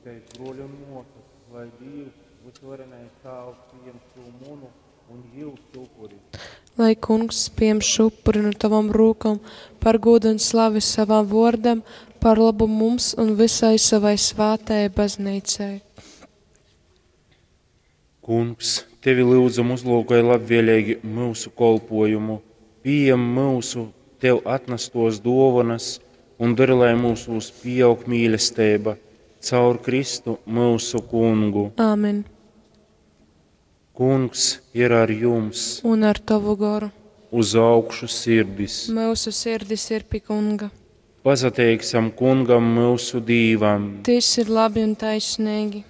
Lūdzitēs, bruoļi un muosys, lai Dīvs, Vysuvarenais Tāvs, pījem šū munu un jiusu upuri. Lai Kungs pieņem šo upuri no tavom rūkom par godu un slavi savam vārdam, par labu mums un visai savai svātajai baznīcai. Kungs, tevi lyudzam uzlūkoj labvēlīgi myusu kolpojumu, pījem myusu tev atnastos duovanas un dari, lai mūsūs pieaug mīlestība caur Kristu myusu kungu. Āmen. Kungs ir ar jums, Un ar tavu goru. uz augšu sirdis. Mūsu sirdis ir pie Kunga. Pasateiksim kungam myusu Dīvam. Tas ir labi un taisnīgi.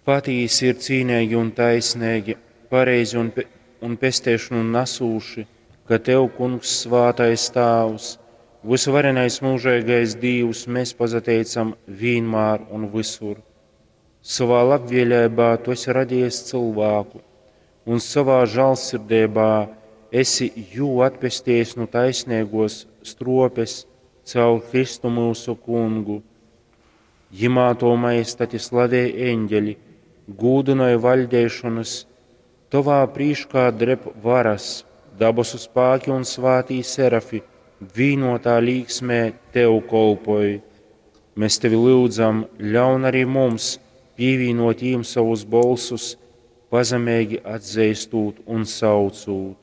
Patīsi ir cīnīgi un taisnīgi, pareizi un, pe un pesteišanu nesūši, ka tev, kungs, svātais tāvs, visuvarenais mūžīgais Dīvs, mēs pasateicam vienmēr un visur. Savā labvēlībā tu esi radījis cilvēku, un savā žēlsirdībā esi jū atpestījis no taisnīgos stropes caur Kristu mūsu kungu. Jimā to majestati slavē eņģeļi, gūdināja vaļdēšanas, tovā prīškā dreb varas, dabasu spēki un svātī serafi, vīnotā līksmē tev kolpoj. Mēs tevi lūdzam, ļaun arī mums pievienot jīm savus bolsus, pazemīgi atzīstot un saucot.